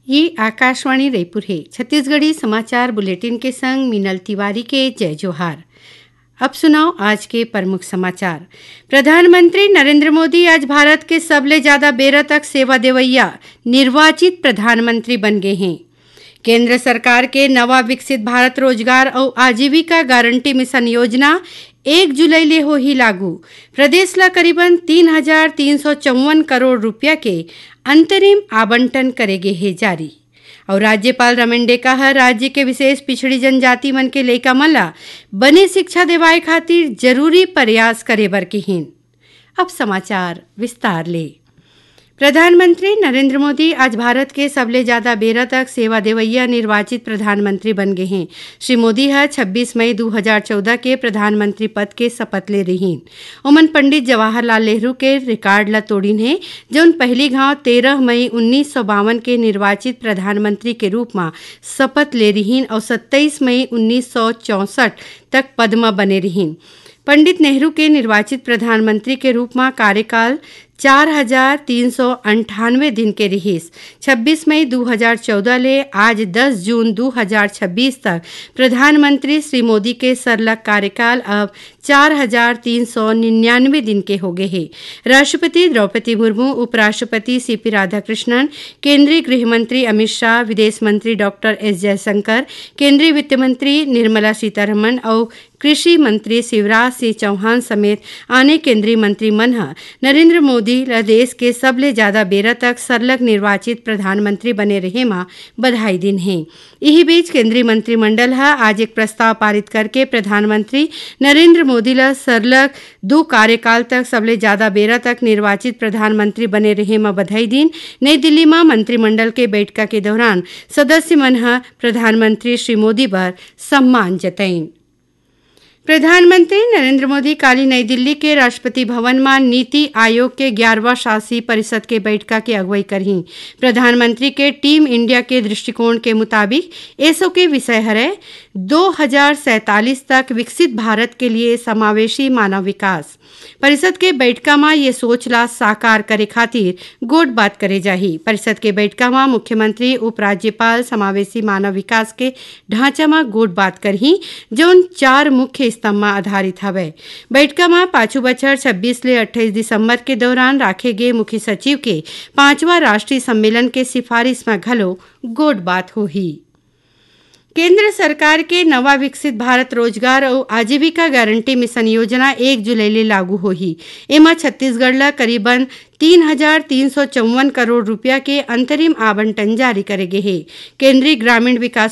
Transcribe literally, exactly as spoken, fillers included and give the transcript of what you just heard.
ये आकाशवाणी रायपुर हे। छत्तीसगढ़ी समाचार बुलेटिन के संग मीनल तिवारी के जय जोहार। अब सुनव आज के प्रमुख समाचार। प्रधानमंत्री नरेंद्र मोदी आज भारत के सबले ज्यादा बेरा तक सेवा देवइया निर्वाचित प्रधानमंत्री बन गे हें। केंद्र सरकार के नवा विकसित भारत रोजगार अउ आजीविका गारंटी मिशन योजना एक जुलाई ले होही लागू। प्रदेश ला करीबन तीन हजार तीन सौ चौवन करोड़ रुपया के अंतरिम आवंटन करे गे हे जारी। अउ राज्यपाल रमेन डेका ह राज्य के विशेष पिछड़ी जनजाति मन के लइका मन ला बने शिक्षा देवाए खातिर जरूरी प्रयास करे बर किहिन। अब समाचार विस्तार ले। प्रधानमंत्री नरेंद्र मोदी आज भारत के सबले ज्यादा बेरा तक सेवा देवइया निर्वाचित प्रधानमंत्री बन गे हें। श्री मोदी ह छब्बीस मई दू हजार चौदह के प्रधानमंत्री पद के शपथ ले रिहीन। ओमन पंडित जवाहरलाल नेहरू के रिकॉर्ड ला तोड़िन हे, जौन पहली घाव तेरह मई उन्नीस सौ बावन के निर्वाचित प्रधानमंत्री के रूप म शपथ ले रिहीन अउ सत्ताईस मई उन्नीस सौ चौसठ तक पद म बने रिहीन। पंडित नेहरू के निर्वाचित प्रधानमंत्री के रूप म कार्यकाल चार हजार तीन सौ अंठानवे दिन के रिहिस। छब्बीस मई दू हजार चौदह ले आज दस जून दू हजार छब्बीस तक प्रधानमंत्री श्री मोदी के सरलग कार्यकाल अब चार हजार तीन सौ निन्यानवे दिन के होगे हे। राष्ट्रपति द्रौपदी मुर्मू, उपराष्ट्रपति सीपी राधाकृष्णन, केंद्रीय गृह मंत्री अमित शाह, विदेश मंत्री डॉक्टर एस जयशंकर, केंद्रीय वित्त मंत्री निर्मला सीतारमण अउ कृषि मंत्री शिवराज सिंह चौहान समेत आने केंद्रीय मंत्री मन ह नरेंद्र मोदी ल देश के सबले ज्यादा बेरा तक सरलग निर्वाचित प्रधानमंत्री बने रहे म बधाई दिन हे। इही बीच केंद्रीय मंत्रिमंडल ह आज एक प्रस्ताव पारित करके प्रधानमंत्री नरेंद्र मोदी ल सरलग दू कार्यकाल तक सबले ज्यादा बेरा तक निर्वाचित प्रधानमंत्री बने रहे म बधाई दिन। नई दिल्ली म मंत्रिमंडल के बैठका के दौरान सदस्य मन ह प्रधानमंत्री श्री मोदी बर सम्मान जतइन। प्रधानमंत्री नरेंद्र मोदी काली नई दिल्ली के राष्ट्रपति भवन म नीति आयोग के ग्यारहवाँ शासी परिषद के बैठका के अगुवाई करही। प्रधानमंत्री के टीम इंडिया के दृष्टिकोण के मुताबिक एसो के विषय हरय दो हजार सैंतालीस तक विकसित भारत के लिए समावेशी मानव विकास। परिषद के बैठका म ये सोच ला साकार करे खातिर गोठ बात करे जाही। परिषद के बैठका म मुख्यमंत्री, उपराज्यपाल, समावेशी मानव विकास के ढांचा म गोठ बात करही, जौन चार मुख्य स्तंभ म आधारित हवय। बैठका म पाछू बछर छब्बीस ले अट्ठाईस दिसंबर के दौरान राखे गे मुख्य सचिव के पांचवा राष्ट्रीय सम्मेलन के सिफारिश म घलो गोठ बात होही। केंद्र सरकार के नवा विकसित भारत रोजगार अउ आजीविका गारंटी मिशन योजना एक जुलाई ले लागू होही। एमा छत्तीसगढ़ ल करीबन तीन हजार तीन सौ चौवन करोड़ रुपया के अंतरिम आवंटन जारी करे गे हे। केंद्रीय ग्रामीण विकास